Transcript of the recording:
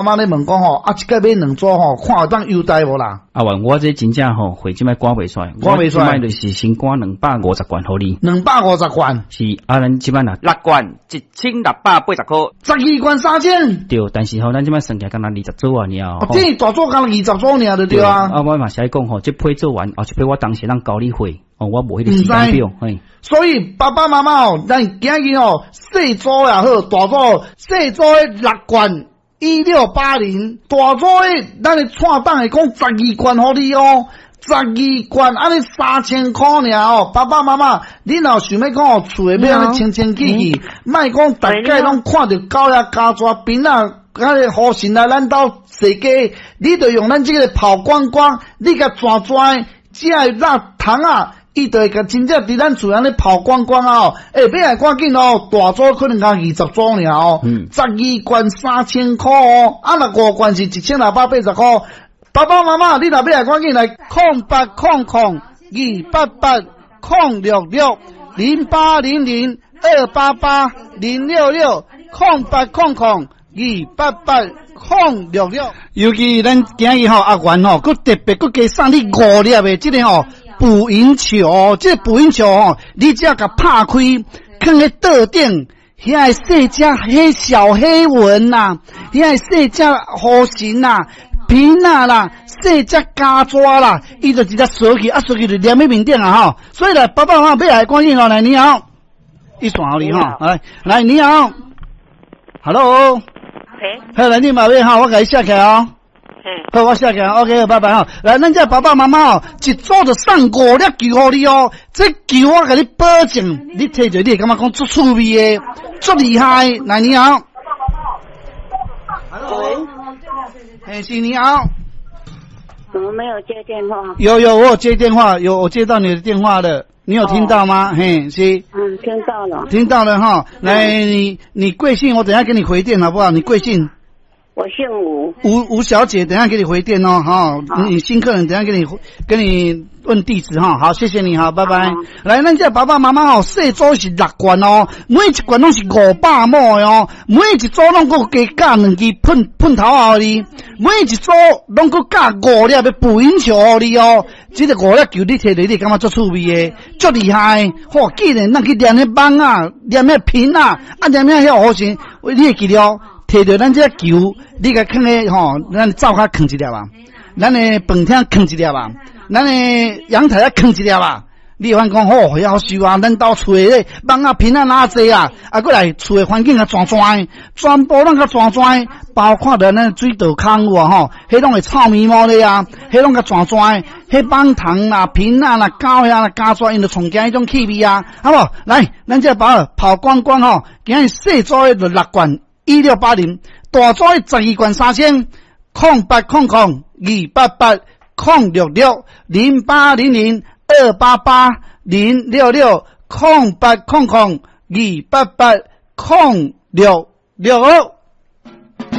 媽咧問講吼，啊，這擺買兩組吼，看會當優待無啦？啊，我這真正吼貨這擺趕袂出來，趕袂出來，這擺就是先趕250罐予你。250罐。是啊，咱這擺若六罐1680箍。12罐3000。對，但是吼，咱這擺算起來敢若20組啊爾。哦，這大組敢若20組爾就對啊。啊，我嘛是愛講吼，這批做完，後一批我當時通交你貨，哦，我無彼個時間表，嘿。所以爸爸媽媽哦，咱今日吼，細組也好，大組，細組的六罐1680，大組的咱的蔡董會講十二罐予你哦，十二罐按呢3000箍爾哦。爸爸媽媽，你若想欲講哦，厝的欲按呢清清氣氣，莫講逐擺攏看著狗仔咬蛇邊仔，啊个雨神來咱兜踅街，你就用咱這个拋光光，你共轉轉，這个蠟糖仔。伊就會共真正佇咱厝按呢拋光光啊！哦，欸，欲來趕緊哦，大組可能才20組爾哦，12罐3000箍哦，啊，若五罐是1680箍。爸爸媽媽，你若欲來趕緊來0800 288 0660800 288 0660800 288 066。尤其咱今日吼阿元吼，閣特別閣加送你五粒的這个吼。捕蠅球，這個捕蠅球吼，你只要共拍開，囥佇桌頂，遐个細隻彼小黑蚊啦，遐个細隻雨神啦、萍仔啦、細隻虼蛇啦，伊就直接踅去，啊踅去就黏佇面頂啊吼。所以來，爸爸媽媽欲來趕緊哦，來你好，伊線予你吼，來來你好，Hello，好，來你嘛欲吼，我共你寫起來哦。好，我寫起來，OK，拜拜吼。來，咱這爸爸媽媽哦，一組就送五粒球予你哦。這球我共你保證，你提著你會感覺講足趣味的，足厲害。來，你好。喂。嘿，是你好。怎麼沒有接電話？有有，我有接電話，有我接到你的電話了，你有聽到嗎？嘿，是。嗯，聽到了。聽到了哈，來，你貴姓？我等下給你回電好不好？你貴姓？我姓吳。吳吳小姐，等下給你回電哦，哈，你新客人，等下給你跟你問地址哈，好，謝謝你，好，拜拜。來，咱這爸爸媽媽哦，細組是六罐哦，每一罐攏是500毫的哦，每一組攏閣加加兩支噴噴頭予你，每一組攏閣加五粒的捕蠅球予你哦。這个五粒球你提著，你會感覺足趣味的，足厲害。嚯，既然咱去粘彼蠓仔，粘彼萍仔，啊，粘彼遐雨神，你會記著。提著咱這個球，你共囥咧吼，咱灶跤囥一粒啊，咱的飯廳囥一粒啊，咱的陽台仔囥一粒啊。你會發現講吼，夭壽啊！咱兜厝的咧蠓仔萍仔哪濟啊？啊，閣來厝的環境較湠湠的，全部攏較湠湠的，包括著咱水道空有無吼？彼攏會臭毛毛咧啊！彼攏較湠湠的，彼蠓蟲啦、萍仔啦、狗遐啦、虼蛇，𪜶就衝驚彼種氣味啊，好無？來，咱這包拋光光吼，今日細組的就六罐1680，大組的12罐3000，0800 288 0660800 288 0660800 288 066。